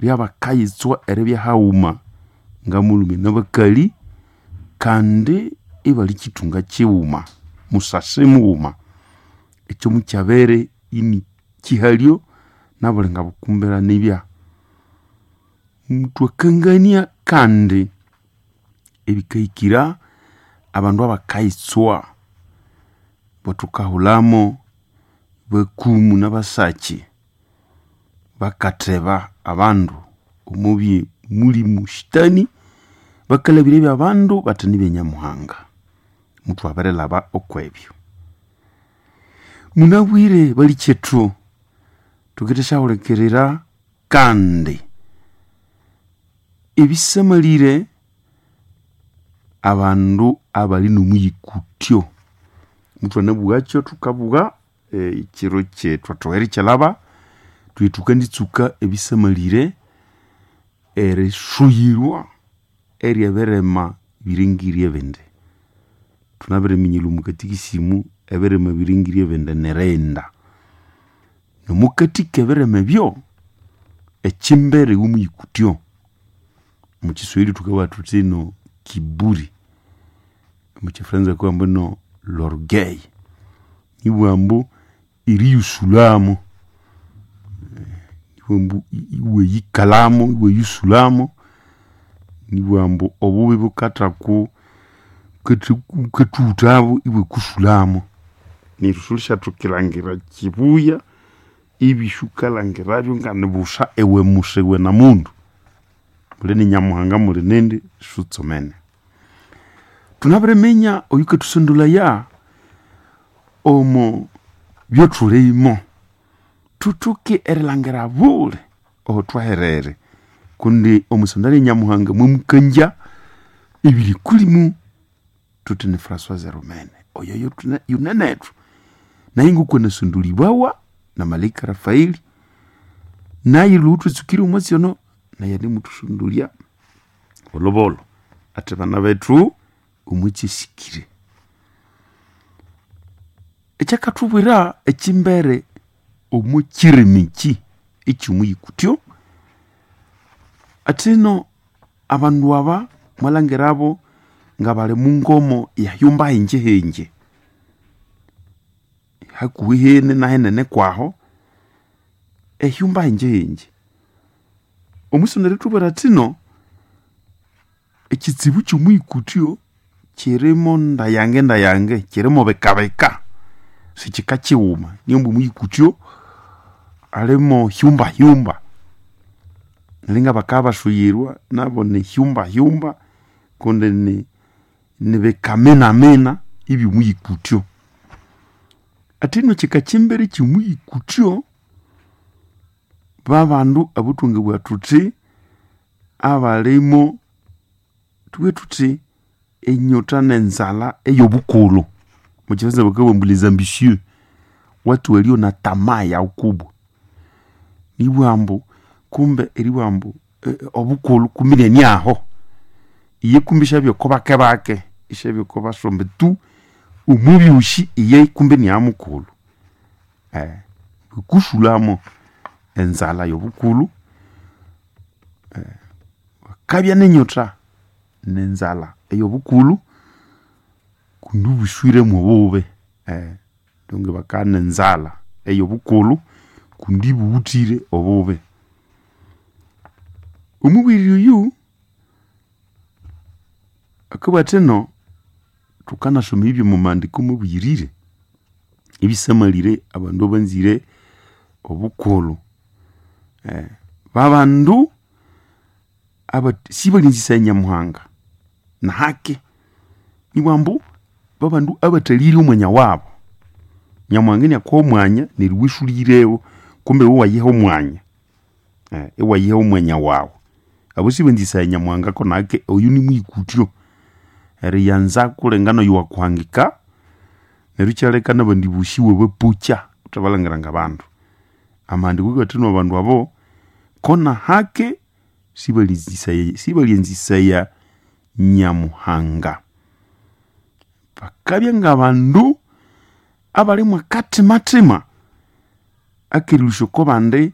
Lyabakayitswa eribya haghuma ngamulhume nabakali kandi ibali kithunga kighuma, musasi mughuma. Ekyo mukyabere ini kihalyo nabuli ngabukumbira nibya. Thwakangania kandi ebikahikira abandu abakayitswa abathukahulhamo bakumu nabasakyi bakatheba abandu omubye mulimu shitani, bakalhabirya ebyabandu bathi nibyanyamuhanga. Muthwabirilhaba okwebyo. Munabwire balikyethu, thukendisyahulikirira kandi ebisamalire abandu abali nomuyikutyo. Muthwanabugha thukabugha ekiro kyethwathowa erikyilhaba, thuye thukanditsuka ebisamalire erisuyirwa eryebirema biringirye ebindi. Thunabiriminya omwa katikisimu ebirema biringirye ebindi nirighenda. Nomukati kebirema ebyo, ekimbere womuyikutyo, omukiswahili thukabugha thuthi ino kiburi, omukifranza bakabugha ambu ino l'orgueil. Nibugha ambu eriyusulhamu, nibugha ambu iwayikalhamu, iwayusulhamu, nibugha ambu obubi bukathaku bukathughuthabu ibwakusulhamu. Neryo siwulisyathokerilangira kibuya ebisukalhangirabyo nganibusa iwe musa iwe namundu. Muli ni Nyamuhanga muli nindi sutsomene. Thunabiriminya oyukathusondolhaya omo byothulimo. Thuthoke erilhangira buli aho thwaherere kundi omwisonda lya Nyamuhanga mwamukangya ebiri kulimu. Thuthi ni Françoise Rumene oyo yunenethu. Naye ngoko anasondolibawa na malaika Rafaeli, naye lhughu thwatsukire omwatsi ono naye animuthusondolya bolhobolho athi bana bethu omwatsi asikire. Ekyakathubwira ekimbere omo kirimi eki ekyomuyikutyo, athino abandu aba mwalhangirabo ngabali mungomo eyahyumba hinje hinje, hakuhi hene nahinene kwaho, ehyumba hinje hinje. Omwisonda erithubwira athino ekitsibu kyomuyikutyo kirimo ndayange ndayange, kirimo bikabika, sikika kighuma. Niyo ambu omuyikutyo alimo hyumba hyumba. Neryo ngabakabya basuyirwa nabo ni hyumba hyumba kundi nibikamina ebyomuyikutyo. Athino kika kimbere kyomuyikutyo, babandu abathwangabugha thuthi abalimo thubughe thuthi enyota nenzalha eyobukulhu. Omwakifaransa bakabugha ambu les ambitieux, watu walio na tamaa ya ukubwa. Nibugha ambu kumbe eribugha ambu obukulhu kumbe inaniaho. Iye kumbe isyabya oko bake bake, isyabya oko basombe tu, omubyosi iye kumbe iniamukulhu. Ikusulhamo enzalha yobukulhu, bakabya nenyotha nenzalha eyobukulhu kundi ibuswire mwobubi. Donc bakabya nenzalha eyobukulhu kundi ibuwuthire obubi. Omubwire oyu akabugha athino thukanasoma ebyo omwamahandiko amabuyirire, ebisamalire abandu abanzire obukulhu. Babandu sibalyanzisaya Nyamuhanga nahake, nibugha ambu babandu abathalire omwanya wabu. Nyamuhanga iniakuha omwanya neryo iwe isulihirewo kumbe iwe iwayiha omwanya, iwayiha omwanya wawu. Abo sibanzisaya Nyamuhanga ko nahake oyu nimuyikutyo. Eriyanza kulenga noyu wakuhangika neryo ikyaleka nabandi bosi iwabapokya wuthabalhangira ngabandu. Amahandiko akathina abandu abo kona hake sibalyanzisaya Nyamuhanga. Bakabya ngabandu abali mwakathimathima akerilhusya okobandi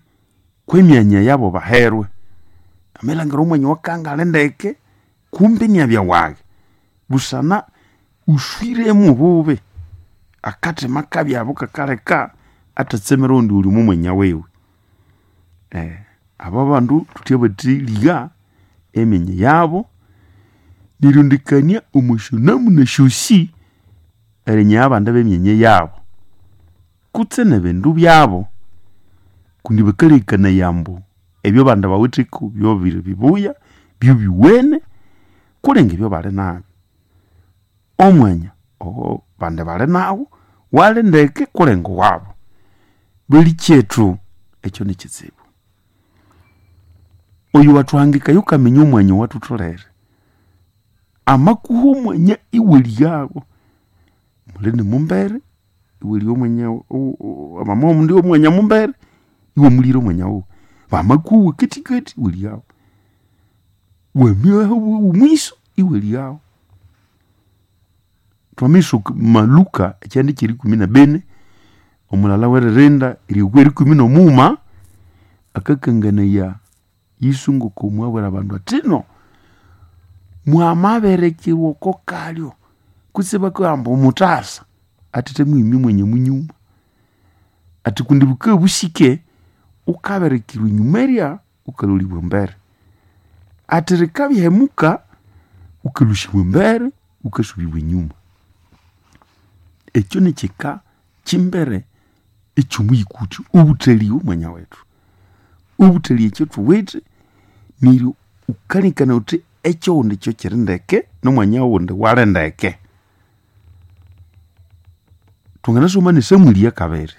kwemyanya yabo baherwe. Amelangira omwanya wakangale ndeke kumbe niabya wage busana uswiremo obubi akathema kabyabo kakaleka atatsemera ondi uli omo mwanya wiwe. Abo bandu thuthyabatheliga emyanya yabo nerirondekania omo syonamuna syosi erinyaya abandi b'emyanya yabo kutse n'ebindu byabo kundi bakalekanaya ambu ebyo bandi bawitheko byobiri bibuya, byobiwene kulenga ebyo bali nabyo. Omwanya owo bandi bali nawu wali ndeke kulenga owabo. Balikyethu ekyo nikitsibu. Oyo wathuhangikaya wukaminya omwanya owathutholere amakuha omwanya iwaliyagho muli nimumbere iwalya omwanya mama omundi omwanya mumbere iwamulira omwanya wuwe. Bamakuha owakathikathi iwalighawo, wamabya omwiso iwalighawo. Twamisoka Maluka ekyanda kyerikumi na bini omulala weririnda erihika erikumi nomughuma akakanganaya Yesu ngoko mwabwira abandu athi ino mwamabirekirwa oko kalyo kutse bakabugha ambu muthasa athi thamwimya omwanya munyuma athi kundi bukabya busike wukabirikirwa enyuma erya wukalholibwa embere athi rikabya ihemuka wukalhusibwa embere wukasubibwa enyuma. Ekyo nikyika kyimbere ekyomuyikuthyo obuthaliya omwanya wethu. Obuthaliya ekyothuwithe neryo wukalengekania wuthi ekyoghundi kyo kyiri ndeke nomwanya ghundi wali ndeke. Thwanganasoma ne Samwiri yakabiri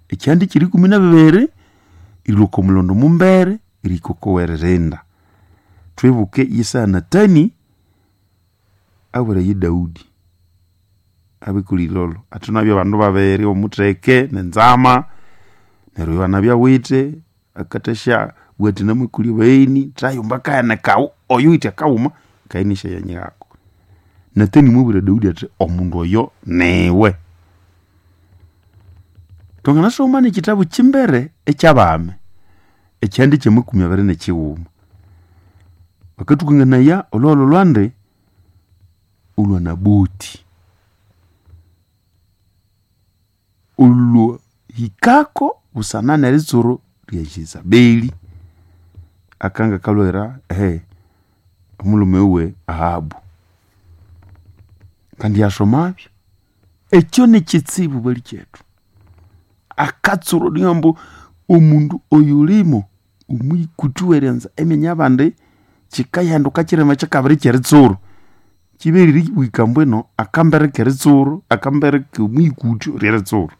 ekyihanda kyerikumi nabibiri erilhwa oko mulhondo mumbere erihika oko weririnda. Thwibuke yesaya Natani abwira ye Daudi abikolha ilholho athi nabya abandu babiri omutheke nenzama neryo oyo anabya awithe akathasya bugha athi namakolya abagheni thayomba akaghane kawu oyo owithe akawuma kayinisyayanyighako. Natani mwabwira Daudi athi omundu oyo niwe. Thwanganasoma nekyitabu kyimbere ekyabami ekyihanda kyamakumi abiri nekyighuma bakathukanganaya olhughalho lwandi olwa Naboti olwahikako busana neritsuro lya Jezabeli akanga kalhwera omulhume wuwe Ahabu. Kandi yasomabyo ekyo nikyitsibu balikyethu akatsuro nihambu omundu oyulimo omwikuthi weryanza emyanya yabandi kyikayanduka kyirima kyikabiri kyeritsuro kyiberire ibwika mbwino akambere keritsuro akambere komwikuthyo ryeritsuro.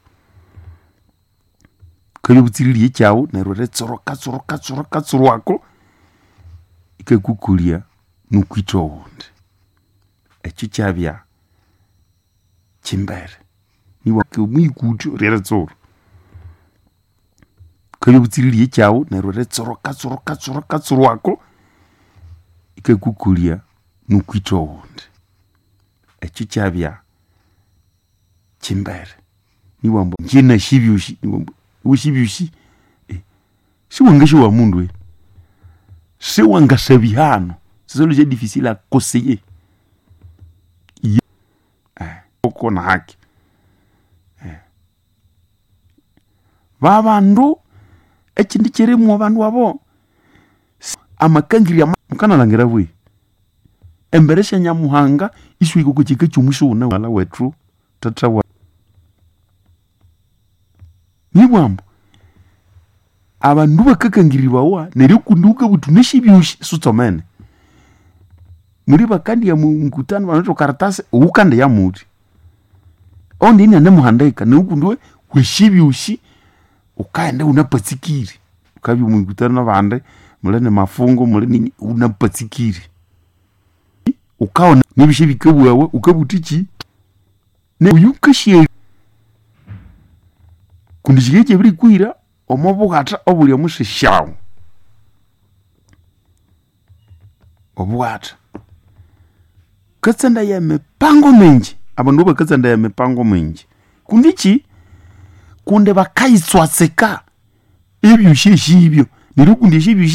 Wukabya butsiriri ekyawu neryo eritsuro katsuro katsuro katsuro ako ikakukolya nukwitha owundi. Ekyo kyabya kyimbere omwikuthyo ryeritsuro. Wukabya butsiriri ekyawu neryo eritsuro katsuro katsuro katsuro ako ikakukolya nukwitha owundi. Ekyo kyabya kyimbere nibughambu ingye nasi ebyosi nibughambu iwasi ebyosi siwangasyowa mundu siwangasabya hano c'est ça le difficile à conseiller uko na haki. Babandu ekyindi kyirimu abandu abo amakangirya mukanalhangira bwe embere sya Nyamuhanga isiwahika oko kyika kyomwiso wuna mughalha wethu thatha wa nibugha ambu abandu bakakangiribawa neryo kundi wukabugha wuthi wunasi ebyosi siwutsomene. Muli bakandiya mukutano banawithe okaratasi owukandiya muthi owundi inianemuhandika neryo kundi wasi ebyosi wukaghenda iwunapatsikire wukabya omwikutano nabandi muli namafungu muli nini iwunapatsikire. Wukawona nebyosi ebikabughawa wukabugha wuthikyi oyu wukasya kundi kyikibya ikyabirikuhira omo bughata obuli omwisi syawu. Obughata wukatsandaya emipango mingi abandu bakatsandaya emipango mingi kundi kyi kundi bakayitswatsika ebyosi esyibyo neryo kundi esyo ebyosi.